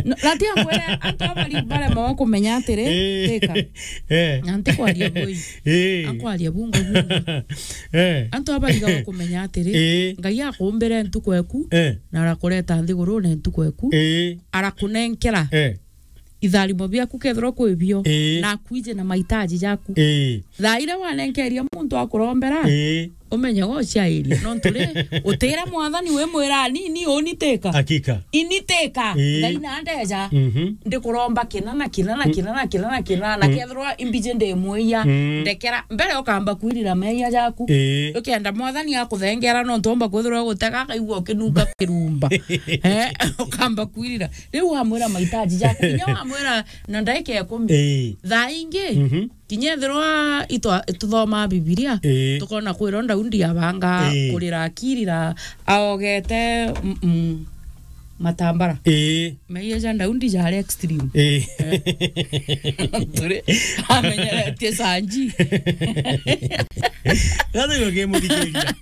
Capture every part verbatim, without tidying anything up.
No, na ti ankwire, antu abari barema kumenya atiri, Eh. Teka. Eh. Na ntikwaria bui. Eh. Akwaria bungu bungu. Eh. Antu abari kumenya atiri, Eh. Ngai akumbire ntuku eku, Eh. na arakureta nthigurune ntuku eku, Eh. arakunenkera Eh. itharimo biaku kethirwa kwi bio, Ii. na akwije na mahitaji jaku. Ii. Thaa iria wanenkeria muntu akurombera, Ii. umenye gociairia. Nontu ri, utira mwathani wimwira, "Ni, ni, uni Teka. Hakika. Ini Teka. Ii. Ngai na ndeja. Mhm. Ndikuromba kina na kina na kina na kina na kina, na Mm. kethirwa imbiji ndi mwia, Mm. ndekera." Mbere ukamba kwirira meia jaku. Ii. Ukenda mwathani akuthengera, nontu omba kwithirwa gutega, akaigua ukinunga kirumba. Eh, ukamba kwirira. Riu wamwira mahitaji jaku, kinya wamwira na ndaika ikumi. Ii. Thaa ingi, Mhm. kinya ethirwa itwa-, tuthomaa Bibilia, Ii. tukona kwirwa Daudi abanga Ii. kurira akirira, aogete, mm, mm, matambara. Ii. Meia ja Daudi jari extreme. Ii. Eh. Turi, amenyeretie sanji. Sasa ndio game mthikiriria.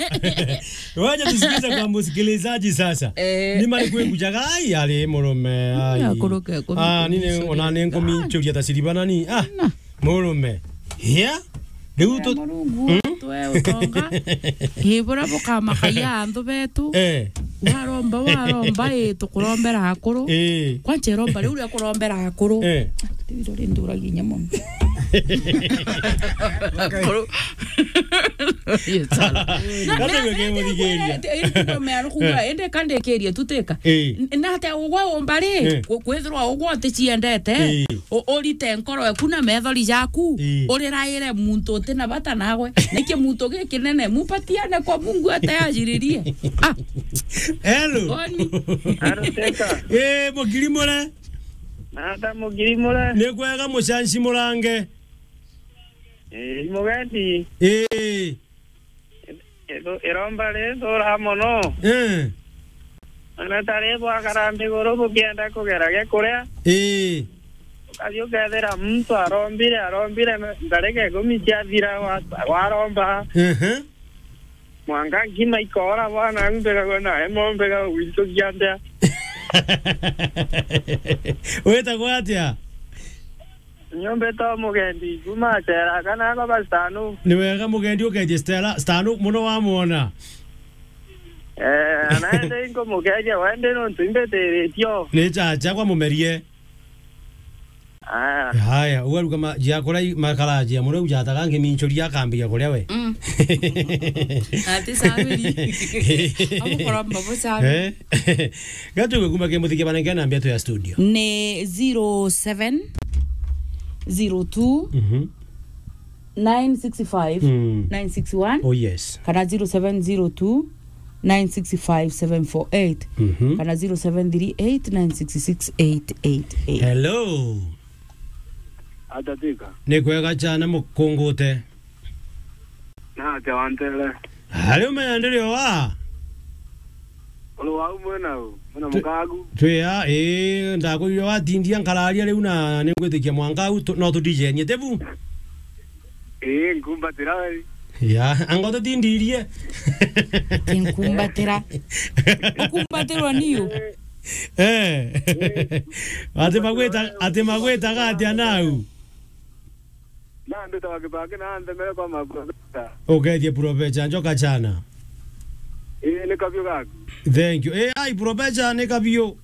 Wacha tusikize kwa msikilizaji sasa. Eh. Ni mari kwe kujaga, ai, ari murume, ai. Akuruke, akuruke, Ah, nini, sorry. Ona ni nkuminchuria ta siribana ni. Ah, Na. murume. Yeah? Riu tu- Murungu, Mm? twe utonga. Ii, buria bukamakagia anthu betu. Eh. Waromba, waromba, ii, tukurombera akuru. Eh. Kwanza iromba riu ria kurombera akuru. Eh. Tibiro ri nduragia inya mono. Akuru. Yes, sir. Gatigwe kimuthikiria. Indi kandikirie tu Teka. Ii. N-, na atia ugwe umba ri, Ii. ku-, kwithirwa ugwe uticiendete, Ii. u-, urite nkoro eku na methori jaku, Ii. uriraire muntu uti na bata nawe. Niki muntu gikinene, mupatiane kwa Mungu atayajiririe. Ah. Hello. Oni. Hello, Teka. Eh, mukiri mure? Nata mukiri mure? Ni kwega mucanci murange. Eh, mugendi. Eh. Iro-, iromba ri thura mono. Eh. Ona ta ri bwakara nthiguru bukienda kugera gia kuria. Eh. Ukathi ukethira muntu arombire, arombire me-, ndarika ikumi ciathira wa-, waromba. Ehe. Mwanka nkima ikora bwana, mbega gwe nae mo mbega gwitukia ndia. Witagwa atia? Nyumbite o mugendi, kuma Stella, kana ako ba Stanu. Ni wega mugendi uketie Stella, Stanu muno wamwona. Eh, anaende inko mugeria, wende nontu imbitiritie o. Ni chacha kwa mumerie. Aya. Haya, ugaruka ma-, jia kurai makara jia muno ujataga ngiminchuria akambia kuria we. Mm. Ati sabiri. Amukoromba bo sabi. Eh? Gatu gukuma ke muthike bana ngena mbia tu ya studio. Ni zero seven zero two, Mhm. nine six five, Mm. nine six one, Oh, yes. kana zero seven zero two, nine six five, seven four eight, Mhm. kana zero seven three eight, nine six six, eight eight eight. Hello. Atatika. Ni kwega chana mukungute. Na atia wantere. Ari umenya ndiri wa? Uri wau mwena u, mwena Twi-, mukagu. Twi a, ii, ndakwirire watindia nkararia riu na ningwitikia mwanka au tu-, no tudijenie, ti bu? Ii, nkumbatira we. Ya, anga tutindirie? Ti nkumbatira. Ukumbatirwa niu? Eh. Ati magwita, ati magwitaga atia nau? Na ndutaga kibaki na nthemere kwa maprofesa. Ugeethie Professor Njoka Chana. Ii, ni kabiu gaku. Thank you. Eh, ai, Professor, ni kabiu.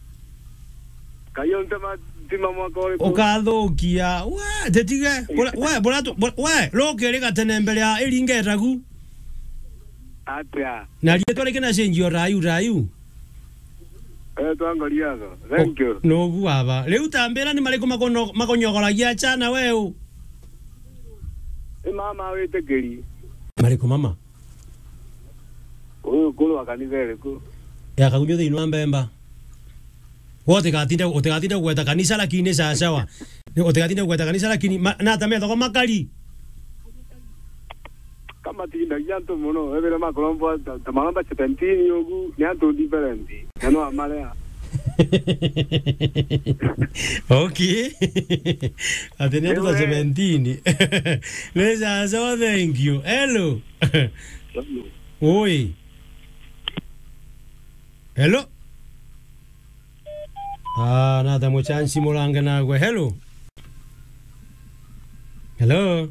Kayo ntema, ntima mwaka uriku? Ukathukia. We, titige. Bura-, we, bura tu-, bura-, we, rukiri gatene mbere ya iringa etagu. Atia? Na riitwa riki na change o rayu, rayu? Eh, twangoria tho. Thank you. Nubu baba. Riu tambira ni mariku makono-, makonyogoragia chana weu? Ni mama witikiri. Mariku mama? Uyu kuru wa kanitha iriku? Ya kagunyo thiini wa mbemba. We utigatinde, utigatinde kugweta kanisa lakini sawa sawa. Ni utigatinde kugweta kanisa lakini ma-, na ata methagwa makari? Kamatindagia antu mono, ethire makuromba ta, ta maromba seventeen ugu, ni antu different. Na no amarea. Okay. Ati ni antu ta Ewe. Seventeen. Ni sawa sawa, thank you. Hello. Oi. Hello. Ah, nata muchansi murange nagwe. Hello? Hello?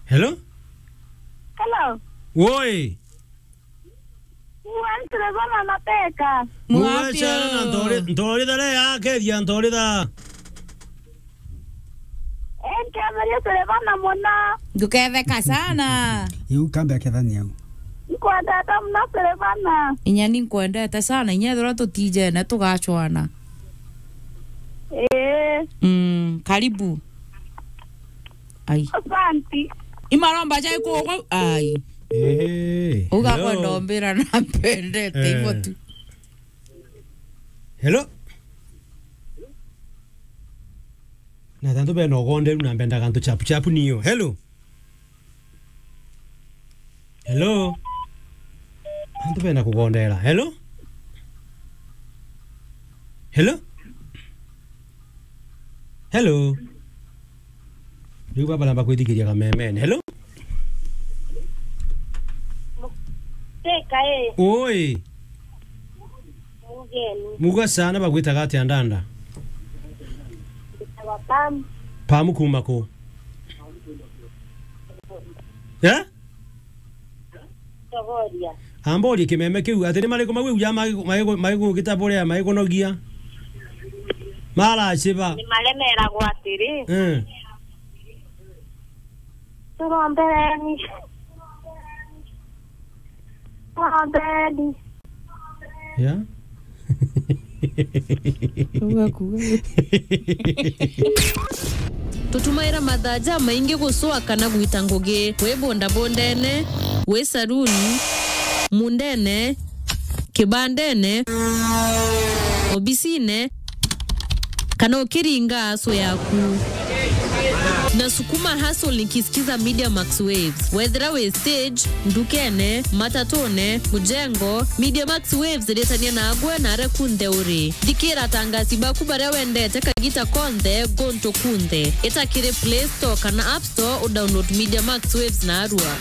Hello? Hello? Woi! Mwantu bana mateka. Mwapia. Mwachana na ntori, ntori thare ya kethia ntori tha. Enketheria turi bana muna. Nduketheka sana. Iu kambe akethania u. Nkwendete muna turi bana. Inya ni nkwendete sana. Inya ethirwa tutijene tugacwana. Ee. Mm, karibu. Ai. Asanti. Imaromba jai kugwa. Ai. Ehe. Uga hello. Kwenda ombira na mpendete, eh, ivo tu. Hello? Na tantu bena ugonderu na mbendaga antu chapu chapu niyo. Hello? Hello? Antu bena kugondera. Hello? Hello? Hello? Riu baba namba kwithikiria kamemene. Hello? Teka, eh. Oi. Mugeni. Muga sana bagwitaga atia ndanda? Mbitawa Pam. Pam kuma ku? Eh? Chogoria. Amborie kimeme kiu, ati ni mariku mau ja magi-, magi-, magigukita buria, magikunogia? Maraciba. Ni maremeragwa atiri. Eh. Turombereni. Turombereni. Ya? Uga kuga. Tutumaira mathaa jamaingi gucwa kana gwita ngugi, wi bundabundene, wi saruni, mundene, kibandene, obisine, kana ukiringa aso yaku. Na sukuma hustle nikisikiza Media Max Waves. Wethira wi stage, ndukene, matatune, mujengo, Media Max Waves iritania nagwe na aria kunthe uri. Thikira atangasi baku baria wendete kagita konthe, guntu kunthe. Ita kiri Play Store kana App Store udownload Media Max Waves narua.